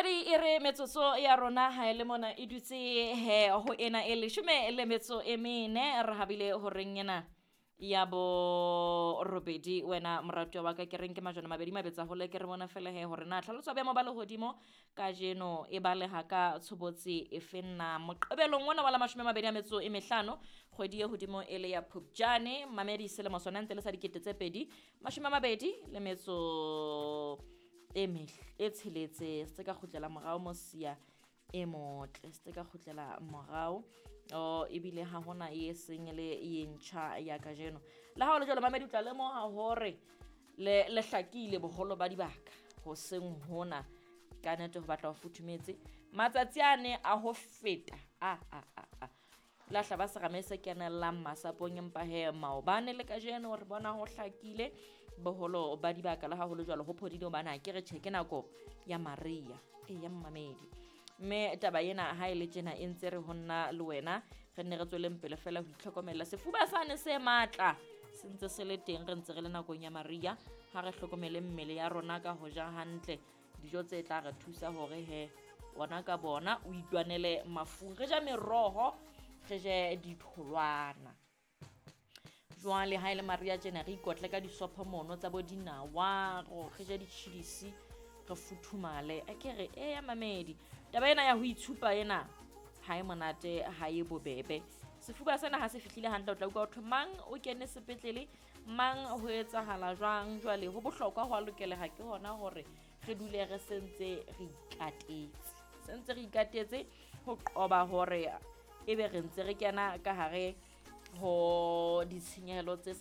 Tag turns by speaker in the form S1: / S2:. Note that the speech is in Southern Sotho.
S1: Mamedi, e re metsotso ya rona ha e le mona e dutse he ho ena e 14 re habile horeng ena ya 8. Wena moratuwa wa ka, ke reng ke majwana mabedi mabetsa hole, ke re bona fela he hore na tlhaloso ya boemo ba lehodimo kajeno e baleha ka tshobotsi e feng na. Moqebelong ona wa la 25 kgwedi e hodimo e le ya Phupjane, mamedi, selemo sona ntse le sa 2026. Se ka kgutlela morao mosia e motle, se ka kgutlela morao o ebile ha hona e seng le e ntjha ya kajeno. Le ha o le jwalo, mamedi, o tla lemoha hore le le hlakile boholo ba dibaka hoseng hona. Ka nete ho batla ho futhumetse matsatsi ane a ho feta a a a a la hlaba serame se kenellang masapong, empa he maobane le kajeno re bona ho hlakile boholo ba dibaka. Le ha ho le jwalo, ho phodile hobane ha ke re tjhe ke nako ya maria e ya mmamedi, mme taba ena ha e le tjena e ntse re ho nna le wena re nne re tsweleng pele fela ho itlhokomela. Sefuba sane se matla se ntse se le teng, re ntse re le nakong ya maria. Ha re hlokomele mmele ya rona ka ho ja hantle dijo tse tla re thusa hore he ona ka bona o itwanele mafung. Re ja meroho, re je ditholwana. Jwale ha e le maria tjena re ikotle ka disopho mono tsa bo dinawa, re je ditjhidisi, re futhumale. A ke re e ya mamedi, taba ena ya ho itshupa ena ha e monate, ha e bobebe. Sefuba sena ha se fihlile hantle, o tla utlwa ho mang o kene sepetlele, mang ho etsahala jwang. Jwale ho bohlokwa ho a lokeleha ke hona hore re dule re sentse re ikatetse, sentse re ikatetse ho qoba hore ebe re ntse re kena ka hare ho ditshenyehelo tse sa